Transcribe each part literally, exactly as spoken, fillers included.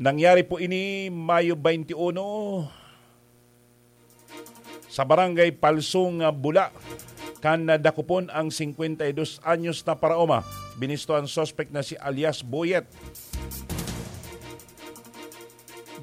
Nangyari po ini Mayo twenty-one sa Barangay Palsong, ah, Bula, kan nadakopon ang singkwenta y dos anyos na paraoma. Binisto ang suspek na si alias Boyet.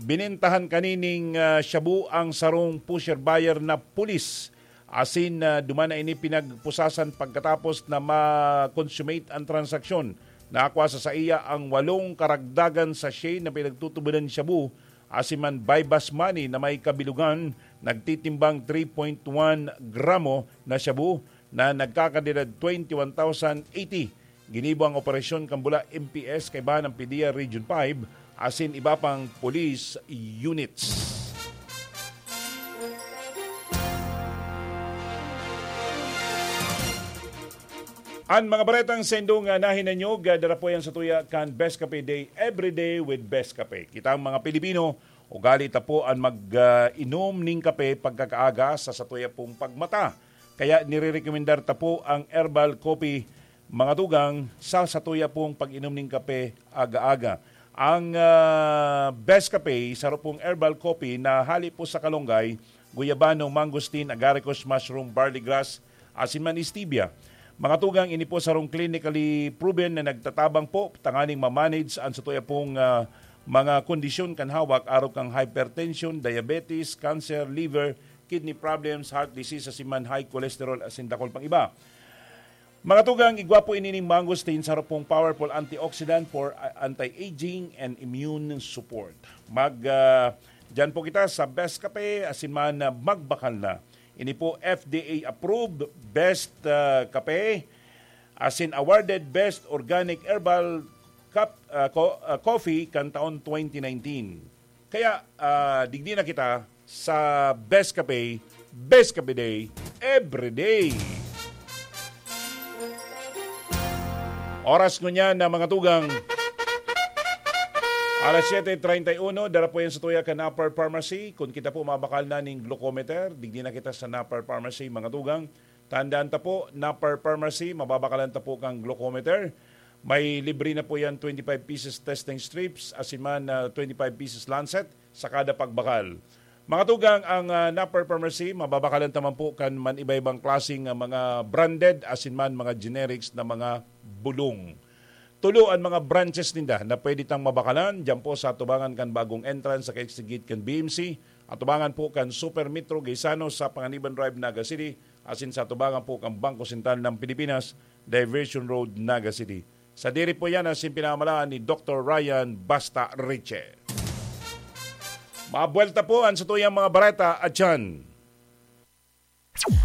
Binentahan kanining, ah, shabu ang sarong pusher buyer na pulis. Asin, ah, duman na ini pinagpusasan pagkatapos na ma-consummate ang transaksyon. Nakwa sa saiya ang walong karagdagan sachet na pinagtutubodan shabu, asin man buy-bust money na may kabilugan, nagtitimbang three point one gramo na shabu na nagkakantidad twenty-one thousand eighty. Ginibo ang operasyon kan Bula M P S kaibahan ang PDEA Region five asin iba pang police units. An mga baretang saindo nga nahinanyog, ah, dara po yan sa tuya kan Best Cafe Day, Every Day with Best Cafe. Kitang mga Pilipino, ugali ta po an mag, ah, inom ning kape pagkakaaga sa satuya pong pagmata. Kaya nirerekomendar ta po ang herbal coffee, mga tugang, sa satuya pong pag-inom ning kape aga-aga. Ang, ah, Best Cafe, saro pong herbal coffee na hali po sa kalunggay, guyabano, mangosteen, agaricus mushroom, barley grass, asin man stevia. Mga tugang, ini po sarong clinically proven na nagtatabang po tanganing ma-manage ang satuya pong, ah, mga kondisyon kan hawak, arog kan hypertension, diabetes, cancer, liver, kidney problems, heart disease, asin man high cholesterol, asin dakul pang iba. Mga tugang, igwa po ini ning mangosteen, saro pong powerful antioxidant for, ah, anti-aging and immune support. Mag, ah, diyan po kita sa Best Cafe, asin man, ah, magbakal na. Ini po F D A approved, best, ah, kape, asin awarded best organic herbal cup, ah, co-, ah, coffee kan taon twenty nineteen. Kaya, ah, digdi na kita sa Best Cafe, Best Cafe Day, every day. Oras ngunyan na mga tugang, alas siyete treinta y uno, dara po yan sa tuya kan Upper Pharmacy. Kung kita po mabakal na ning glucometer, digdi na kita sa Napar Pharmacy, mga tugang. Tandaan ta po, Napar Pharmacy, mababakalan ta po kang glucometer. May libre na po yan, twenty-five pieces testing strips, asin man, ah, twenty-five pieces lancet sa kada pagbakal. Mga tugang, ang, ah, Napar Pharmacy, mababakalan ta man po kan man iba-ibang klaseng, ah, mga branded, asin man mga generics na mga bulong. Tulo an mga branches ninda na pwede tang mabakalan, diyan po sa atubangan kan bagong entrance sa kasigit kan B M C, atubangan po kan Super Metro Gaisano sa Panganiban Drive, Naga City, asin sa atubangan po kan Bangko Sentral ng Pilipinas, Diversion Road, Naga City. Sadiri po yan asin pinamalaan ni Doktor Ryan Basta Riche. Mabuelta po ang satuyang mga bareta at dyan.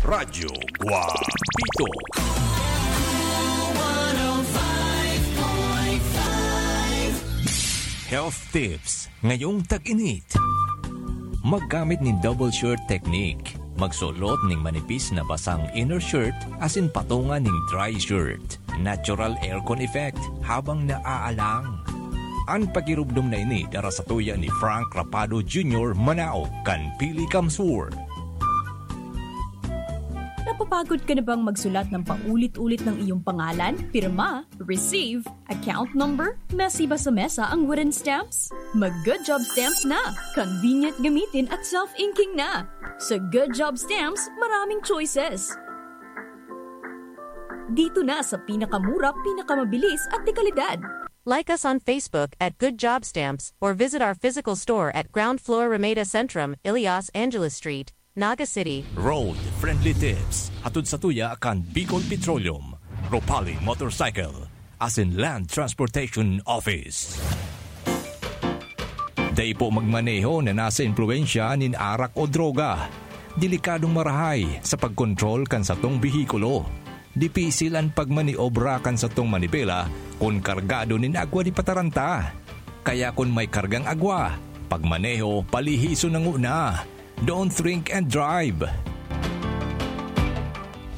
Radyo Guapito. Health tips ngayong tag-init. Maggamit nin double shirt technique. Magsulot ning manipis na basang inner shirt asin patunga ning dry shirt. Natural aircon effect habang naaalang. An pakirumdom na ini dara sa tuya ni Frank Rapado Junior, manao kan Pili Kamsur. Napapagod ka na bang magsulat ng paulit-ulit ng iyong pangalan, pirma, receive, account number, mesi ba sa mesa ang wooden stamps? Mag Good Job Stamps na! Convenient gamitin at self-inking na! Sa Good Job Stamps, maraming choices! Dito na sa pinakamura, pinakamabilis at dekalidad. Like us on Facebook at Good Job Stamps or visit our physical store at ground floor Ramada Centrum, Ilias Angeles Street, Naga City. Road Friendly Tips, hatod sa tuya kan Bicol Petroleum, Ropali Motorcycle, asin Land Transportation Office. Dai po magmaneho na nasa impluwensya nin arak o droga. Delikadong marahay sa pagkontrol kan satong behikulo. Dipisil an pagmaniobra kan satong manibela kun kargado nin agwa di pataranta. Kaya kun may kargang agwa, pagmaneho palihison na nguna. Don't drink and drive.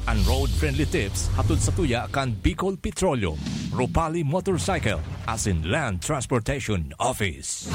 An Road Friendly Tips hatod sa tuya kan Bicol Petroleum, Ropali Motorcycle, asin Land Transportation Office.